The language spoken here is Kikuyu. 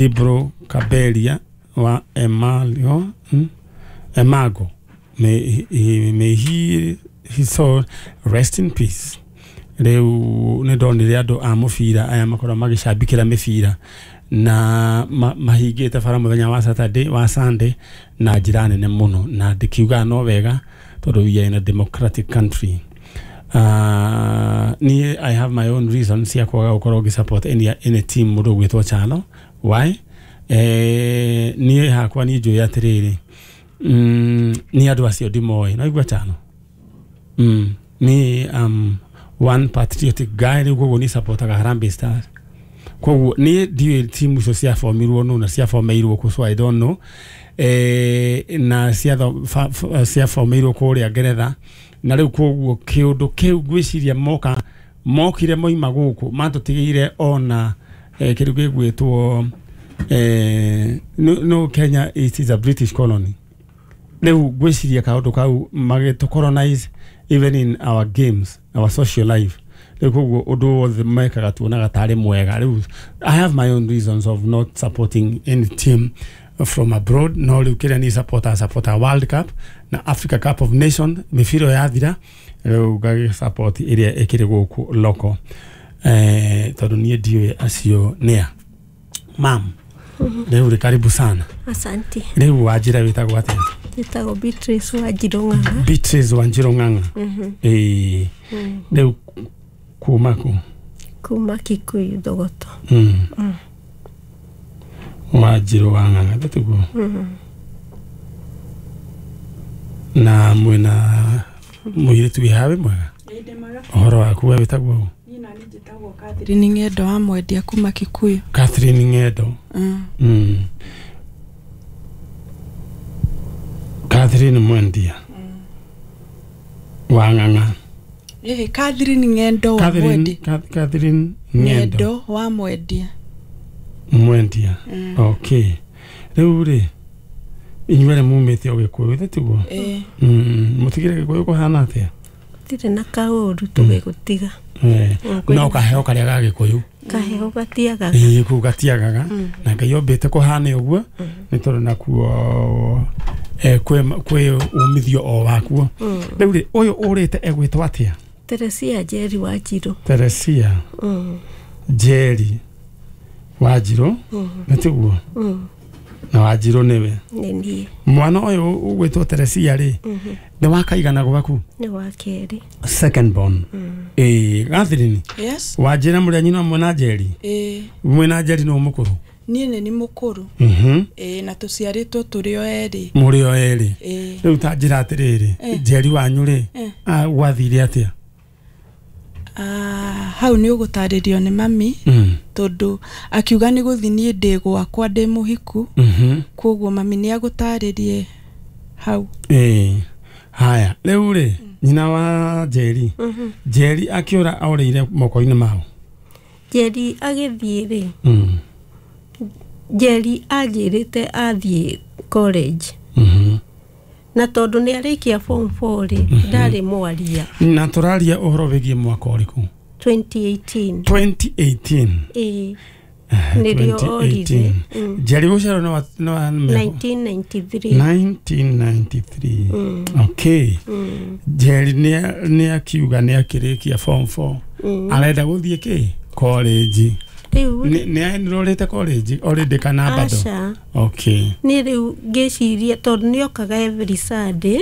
Ibro Kaberia wa Emalio, Emago. May he his soul rest in peace. Rĩu nĩ ndonire andũ a mũbira aya makoragwo magĩcambikĩra mĩbira na mahingĩte bara mũthenya wa Saturday wa Sunday na njĩra nene mũno, na ndĩkiugaga no wega tondũ we are in a democratic country. Niĩ I have my own reasons cia kwaga gũkorwo ngĩ support any team mũndũ ũgwĩtwo Chalo. Why? Niĩ hakwa niĩ njũĩ atĩrĩrĩ, niĩ andũ acio ndimoĩ, no igua Chalo. Niĩ one patriotic guy, rĩu koguo niĩ supportaga Harambee Stars. Koguo niĩ ndiũĩ timu icio ciabomirwo nũ na ciabomeirwo kũ, so I don't know. Na ciabomeirwo kũrĩa Ngeretha, na rĩu koguo kĩũndũ kĩu ngwĩciria moka mokire moima gũkũ matũtigĩire ona kĩndũ gĩgwĩtwo no Kenya, it is a British colony. Rĩu ngwĩciria kaũndũ kau magĩtũ colonize even in our games, our social life. Rĩu koguo ũndũ wothe mekaga tuonaga tarĩ mwega. Rĩu I have my own reasons of not supporting any team from abroad, no rĩu kĩrĩa niĩ supporta World Cup na Africa Cup of Nation. Mĩbira ĩyo yathira, rĩu ngagĩ support ĩrĩa ĩkĩrĩ gũkũ local, tondũ niĩ ndiũĩ acio nĩa. Mam, rĩu rĩ karibu sana. Asante. Rĩu wanjĩra wĩtagwo atĩa? Njĩtagwo Beatrice Wanjirũ Ng'ang'a. Beatrice Wanjirũ Ng'ang'a. Ĩĩ, rĩu kuma kũ? Kuma Kikuyu, Thogoto. Wanjirũ wa Ng'ang'a, tĩtiguo? Na mwĩna mũirĩtu wĩ haha, wĩ mwega? Ũhoro waku, we wĩtagwo ũ? Niĩ nani njĩtagwo Catherine Ng'endo wa Mwendia kuma Kikuyu. Catherine Ng'endo. Catherine Mwendia wa Ng'ang'a. Ĩhĩ, Catherine Ng'endo wa Catherine Mwendia. Catherine Ng'endo. Ng'endo wa Mwendia. Mwendia. Okay, rĩu rĩ inyuerĩ mumĩte o Gĩkũyũ, tĩtiguo? Ĩĩ. Mũtigire Gĩkũyũ kũhana atĩa? Tirĩ na kaũru tũgĩgũtiga. No kaheo karĩa ga Gĩkũyũ. Kaheo gatiagaga. Ĩĩ, kũu gatiagaga, na Ngai ombĩte kũhane ũguo nĩ tondũ nakuo kwĩ umithio o wakuo. Rĩu rĩ, ũyũ ũrĩte egwĩtwo atĩa? Teresia Njeri Wanjirũ. Teresia Njeri Wanjirũ, nĩ tiguo? Na Wanjirũ nĩwe? Nĩ niĩ. Mwana ũyũ ũgwĩtwo Teresia rĩ, nĩ wakaigana gwaku? Nĩ wa kerĩ. Second born. Ĩĩ, Catherine. Yes. Wanjĩra mũrĩ a nyina ũmwe na Njeri? Ĩĩ. Mwĩna Njeri nĩ mũkũrũ? Niĩ nĩ ni mũkũrũ. Ĩĩ, na tũciarĩtwo tũrĩ o erĩ. Mũrĩ o erĩ? Ĩĩ. Rĩu ta njĩra atĩrĩrĩ, Njeri wanyu rĩ, gwathire atĩa? Ah, hau nĩ ũgũtarĩrio nĩ mami, tondũ akiuga nĩ gũthi, niĩ ndĩ gwakwa ndĩ mũhiku. Koguo mami nĩ agũtarĩrie hau. Ĩĩ, haya, rĩu rĩ, nyina wa Njeri, Njeri akĩũra orĩire moko-inĩ mao? Njeri agĩthiĩ rĩ, Njeri anjĩrĩte athiĩ college, na tondũ nĩ arĩkia form 4 rĩ, ndarĩ mwaria. Na tũraria ũhoro wĩgiĩ mwaka ũrĩkũ? 2018. 2018? Ĩĩ, nĩrĩo orire. 2018. Njeri gũciarwo nĩ wa 1993. 1993, okay. Njeri nĩ akiuga nĩ akĩrĩkia form 4, arenda gũthiĩ kĩ college. Rĩu Nĩ enrolete college already kana bado? Aca. Okay. Niĩ rĩu ngĩciria tondũ nĩ okaga every Sunday.